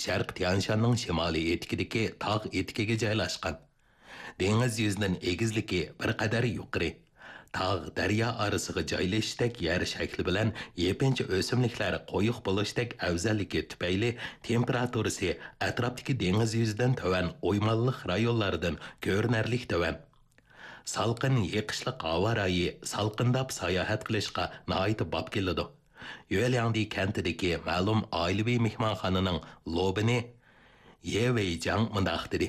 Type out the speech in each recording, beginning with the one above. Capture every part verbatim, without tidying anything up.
شەرقىي تيانشاننىڭ شىمالىي ئېتىكىدىكى تاغ ئېتىكىگە جايلاشقان. دېڭىز يۈزىدىن ئېگىزلىكى بىر قەدەر يۇقىرى. تاغ، دەريا ئارىسىغا جايلىشىشتەك يەر شەكلى بىلەن يېپىنچا ئۆسۈملۈكلەر قويۇق بولۇشتەك ئەۋزەللىكى تۈپەيلى تېمپېراتۇرىسى ئەتراپتىكى دېڭىز يۈزىدىن تۆۋەن ئويمانلىق رايونلاردىن كۆرۈنەرلىك تۆۋەن. سالقىن، يېقىشلىق ھاۋا رايى سالقىنداپ ساياھەت قىلىشقا ناھايىتى باب كېلىدۇ. يۈەلياڭدى كەنتىدىكى مەلۇم ئائىلىۋى مېھمانخانىنىڭ لوبىنى يې ۋېيجاڭ مۇنداق دېدى: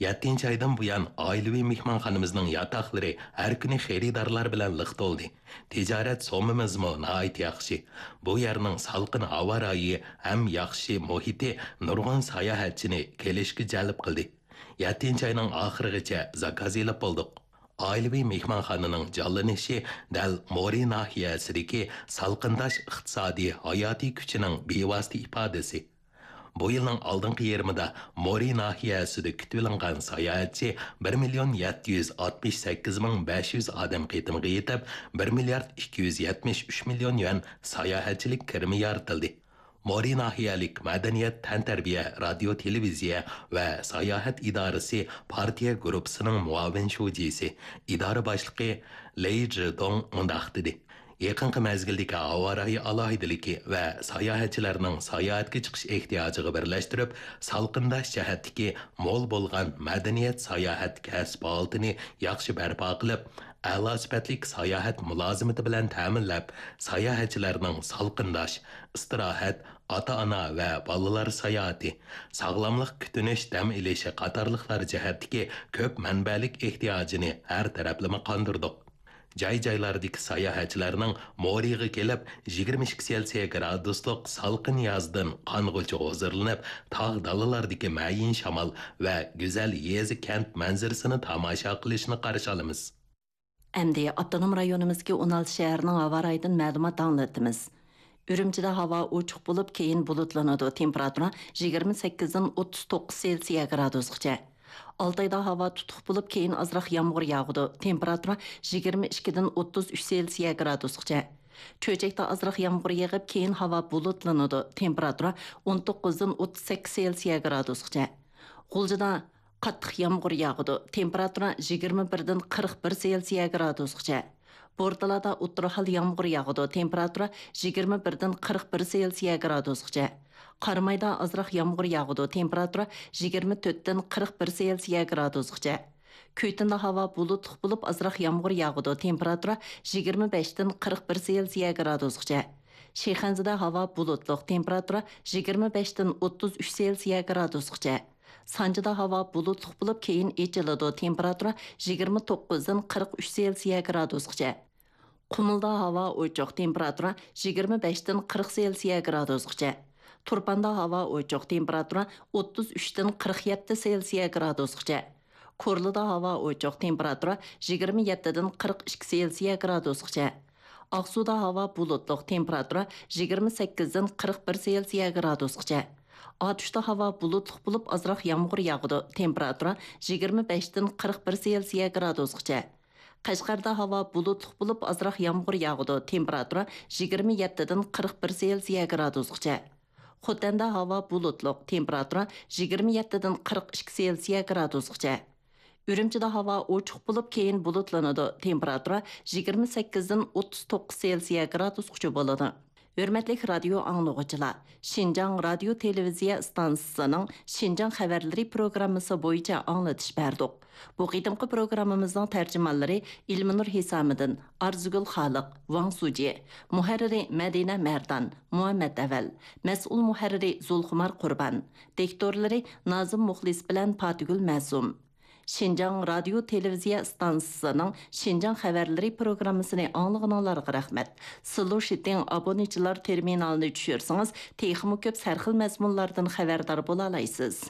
«يەتتىنچى ئايدىن بۇيان، ئائىلىۋى مېھمانخانىمىزنىڭ ياتاقلىرى ھەر كۈنى خېرىدارلار بىلەن لىق تولدى. تىجارەت سوممىمىزمۇ ناھايىتى ياخشى. بۇ يەرنىڭ سالقىن ھاۋا رايى ھەم ياخشى مۇھىتى نۇرغۇن ساياھەتچىنى كېلىشكە جەلپ قىلدى. يەتتىنچى ئاينىڭ ئاخىرىغىچە زاكاز ئېلىپ بولدۇق.» ئائىلىۋى مېھمانخانىنىڭ جانلىنىشى دەل مورى ناھىيەسىدىكى سالقىنداش ئىقتىسادىي ھاياتىي كۈچىنىڭ بىۋاسىتە ئىپادىسى. بۇ يىلنىڭ ئالدىنقى يېرىمىدا مورى ناھىيەسىدە كۈتۈۋېلىنغان ساياھەتچى بىر مىليون يەتتە يۈز ئاتمىش سەككىز مىڭ بەش يۈز ئادەم قېتىمىغا يېتىپ، بىر مىليارد ئىككى يۈز يەتمىش ئۈچ مىليون يۈەن ساياھەتچىلىك كىرىمى يارىتىلدى. مورى ناھىيەلىك مەدەنىيەت، تەنتەربىيە، رادىيو، تېلېۋىزىيە ۋە ساياھەت ئىدارىسى پارتىيە گۇرۇپپىسىنىڭ مۇئاۋىن شۇجىسى، ئىدارە باشلىقى لېي جىدوڭ مۇنداق دېدى: «يېقىنقى مەزگىلدىكى ھاۋا رايى ئالاھىدىلىكى ۋە ساياھەتچىلەرنىڭ ساياھەتكە چىقىش ئېھتىياجىغا بىرلەشتۈرۈپ، سالقىنداش جەھەتتىكى مول بولغان مەدەنىيەت ساياھەت كەسىپ ھالىتىنى ياخشى بەرپا قىلىپ، ئەلا سۈپەتلىك ساياھەت مۇلازىمىتى بىلەن تەمىنلەپ، ساياھەتچىلەرنىڭ سالقىنداش، ئىستىراھەت، ئاتا-ئانا ۋە بالىلار ساياھىتى، ساغلاملىق كۈتۈنۈش دەم ئېلىشى قاتارلىقلار جەھەتتىكى كۆپ مەنبەلىك ئېھتىياجىنى ھەر تەرەپلىمە قاندۇردۇق. جاي-جايلاردىكى ساياھەتچىلەرنىڭ مورىغا كېلىپ، يىگىرمە ئىككى سېلسىيە گرادۇسلۇق سالقىن يازدىن قانغۇچە ھۇزۇرلىنىپ، تاغ دالىلاردىكى مەيىن شامال ۋە گۈزەل يېزا-كەنت مەنزىرىسىنى تاماشا قىلىشىنى قارشى ئالىمىز.» ئەمدى ئاپتونوم رايونىمىزدىكى ئون ئالتە شەھەرنىڭ ھاۋا رايىدىن مەلۇمات ئاڭلىتىمىز. ئۈرۈمچىدە ھاۋا ئوچۇق بولۇپ، كېيىن بۇلۇتلىنىدۇ، تېمپېراتۇرا يىگىرمە سەككىزدىن ئوتتۇز توققۇز سېلسىيە گرادۇسقىچە. ئالتايدا ھاۋا تۇتۇق بولۇپ، كېيىن ئازراق يامغۇر ياغىدۇ، تېمپېراتۇرا يىگىرمە ئىككىدىن ئوتتۇز ئۈچ سېلسىيە گرادۇسقىچە. چۆچەكتە ئازراق يامغۇر يېغىپ، كېيىن ھاۋا بۇلۇتلىنىدۇ، تېمپېراتۇرا ئون توققۇزدىن ئوتتۇز سەككىز سېلسىيە گرادۇسقىچە. غۇلجىدا قاتتىق يامغۇر ياغىدۇ، تېمپېراتۇرا يىگىرمە بىردىن قىرىق بىر سېلسىيە گرادۇسقىچە. بورتالادا ئوتتۇرا ھال يامغۇر ياغىدۇ، تېمپېراتۇرا يىگىرمە بىردىن قىرىق بىر سېلسىيە گرادۇسقىچە. قارامايدا ئازراق يامغۇر ياغىدۇ، تېمپېراتۇرا يىگىرمە تۆتتىن قىرىق بىر سېلسىيە گرادۇسقىچە. كۈيتۇندا ھاۋا بۇلۇتلۇق بولۇپ، ئازراق يامغۇر ياغىدۇ، تېمپېراتۇرا يىگىرمە بەشتىن قىرىق بىر سېلسىيە گرادۇسقىچە. شىخەنزىدە ھاۋا بۇلۇتلۇق، تېمپېراتۇرا يىگىرمە بەشتىن ئوتتۇز ئۈچ سېلسىيە گرادۇسقىچە. سانجىدا ھاۋا بۇلۇتلۇق بولۇپ، كېيىن ئېچىلىدۇ، تېمپېراتۇرا يىگىرمە توققۇزدىن قىرىق ئۈچ سېلسىيە گرادۇسقىچە. قۇمۇلدا ھاۋا ئوچۇق، تېمپېراتۇرا يىگىرمە بەشتىن قىرىق سېلسىيە گرادۇسقىچە. تۇرپاندا ھاۋا ئوچۇق، تېمپېراتۇرا ئوتتۇز ئۈچتىن قىرىق يەتتە سېلسىيە گرادۇسقىچە. كورلىدا ھاۋا ئوچۇق، تېمپېراتۇرا يىگىرمە يەتتىدىن قىرىق ئىككى سېلسىيە گرادۇسقىچە. ئاقسۇدا ھاۋا بۇلۇتلۇق، تېمپېراتۇرا يىگىرمە سەككىزدىن قىرىق بىر سېلسىيە گرادۇسقىچە. ئاتۇشتا ھاۋا بۇلۇتلۇق بولۇپ، ئازراق يامغۇر ياغىدۇ، تېمپېراتۇرا يىگىرمە بەشتىن قىرىق بىر سېلسىيە گرادۇسقىچە. قەشقەردە ھاۋا بۇلۇتلۇق بولۇپ، ئازراق يامغۇر ياغىدۇ، تېمپېراتۇرا يىگىرمە يەتتىدىن قىرىق بىر سېلسىيە گرادۇسقىچە. خوتەندە ھاۋا بۇلۇتلۇق، تېمپېراتۇرا يىگىرمە يەتتىدىن قىرىق ئىككى سېلسىيە گرادۇسقىچە. ئۈرۈمچىدە ھاۋا ئوچۇق بولۇپ، كېيىن بۇلۇتلىنىدۇ، تېمپېراتۇرا يىگىرمە سەككىزدىن ئوتتۇز توققۇز سېلسىيە گرادۇسقىچە بولىدۇ. ھۆرمەتلىك رادىيو ئاڭلىغۇچىلار، شىنجاڭ رادىيو تېلېۋىزىيە ئىستانسىسىنىڭ شىنجاڭ خەۋەرلىرى پروگراممىسى بويىچە ئاڭلىتىش بەردۇق. بۇ قېتىمقى پروگراممىمىزنىڭ تەرجىمانلىرى ئىلمىنۇر ھېسامىدىن، ئارزۇگۈل خالىق، ۋاڭ سۇجى، مۇھەررىرى مەدىنە مەردان، مۇھەممەت ئەۋەل، مەسئۇل مۇھەررىرى زۇلخۇمار قۇربان، دىكتورلىرى نازىم مۇخلىس بىلەن پاتىگۈل مەسۇم. شىنجاڭ رادىيو تېلېۋىزىيە ئىستانسىسىنىڭ شىنجاڭ خەۋەرلىرى پروگراممىسىنى ئاڭلىغىنىڭلارغا رەھمەت. سىلۇشىتىڭ ئابونېچىلار تېرمىنالىنى چۈشۈرسىڭىز، تېخىمۇ كۆپ سەرخىل مەزمۇنلاردىن خەۋەردار بولالايسىز.